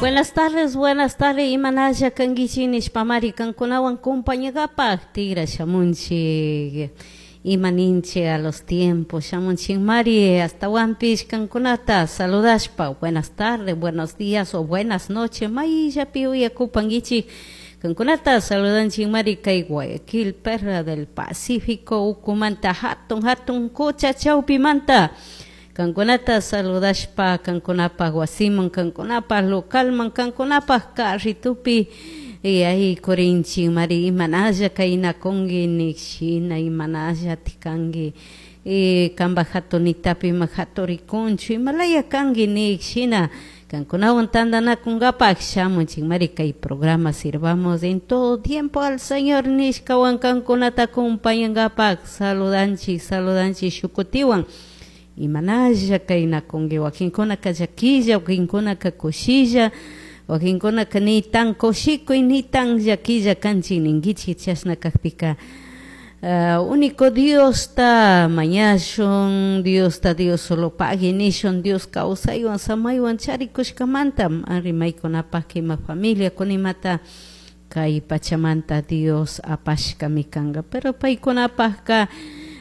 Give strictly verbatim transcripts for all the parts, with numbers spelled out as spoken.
Buenas tardes, buenas tardes, imanalla kankichik nishpamari kankunawan compañagapak tigra shamunchik ima ninchik a los tiempos shamunchikmari ashtawanpish kankunata saludashpa buenas tardes, buenos días o buenas noches mayllapi uyakupankichik kankunata saludanchikmari kay Guayaquil Perla del Pacífico ukumanta hatun hatun qucha chawpimanta kankunata saludashpa kankunapak wasiman kankunapak localman kankunapak carritupi y ahí kurinchik mari imanalla kaynakunki nik shina imanalla tikanki y kanpak hatunitapi ima haturikunchu imalaya kanki nik shina kankunawan tantanakunkapak shamunchikmari kay programa Sirvamos en todo tiempo al Señor nishkawan kankunata acompañankapak saludanchik saludanchik shukutiwan imanalla kaynakunki wakinkunaka llakilla wakinkunaka kushilla wakinkunaka ni tan kushikuy ni tan llakilla kanchik ninkichik chashna kakpika uh, único Diosta mañashun Diosta Dios solo pagui nishun Dios kawsaywan samaywan charikushkamanta rimaykunapak ima familia kunimata kay pachamanta Dios apashkami kanka pero paykunapakka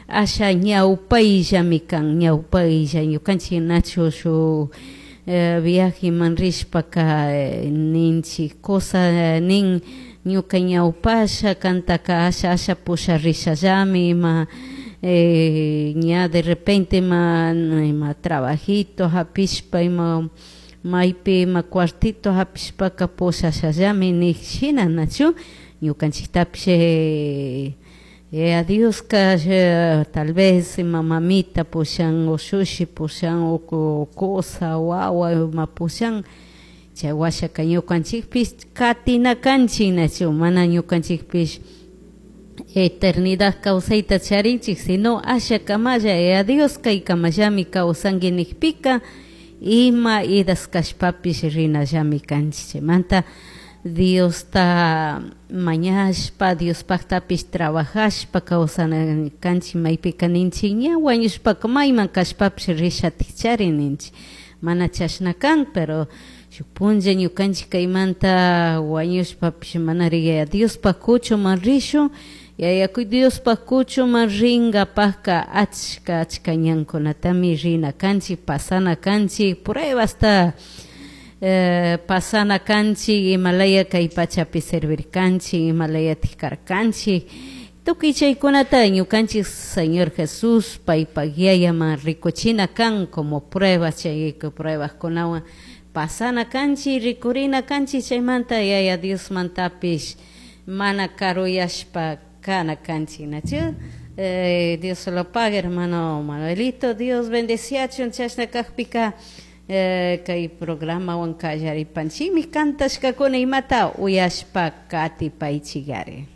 asha ñawpayllami kan ñawpaylla ñukanchik nachu shuk eh, viajeman rishpaka eh, ninchik cosa nin ñuka ñawpasha kantaka asha asha pusharishallami ima eh, ña de repente ima ima trabajito hapishpa ima maypi ima cuartito hapishpaka pushashallami nik shina nachu ñukanchiktapish eh, eh, a Dioska eh, tal vez ima mamita pushan ushushi pushan o cosa wawa ima pushan chay washaka ñukanchikpish katina kanchik nachu mana ñukanchikpish eternidad kawsayta charinchik sino asha kamalla eh, a Dios kay kamallami kawsanki nikpika ima idas kashpapish rinallami kanchik chaymanta Diosta mañashpa Diospaktapish trabajashpa kawsana kanchik maypika ninchik ña wañushpaka mayman kashpapish rishatikchari ninchik mana chashna kan pero shuk punlla ñukanchik kaymanta wañushpapish manari Yaya Diospaj kuchuman rishun Yaya Diospaj kuchuman rinkapakka achka achka ñankunatami rina kanchik pasana kanchik pruebasta eh, pasana kanchik imalaya kay pachapi servirkanchik imalayatik karkanchik tukuy chaykunata ñukanchik Señor Jesús paypak yayaman rikuchina kan como pruebas chay pruebaskunawan pasana kanchik rikurina kanchik chaymanta Yaya Diosmantapish mana karuyashpa kana kanchik nachu eh, Dios se lo pague hermano Manuelito Dios bendeciachun chashna kakpika eh, kay programawan kallaripanchikmi kantashkakuna imata uyashpa katipaychikari.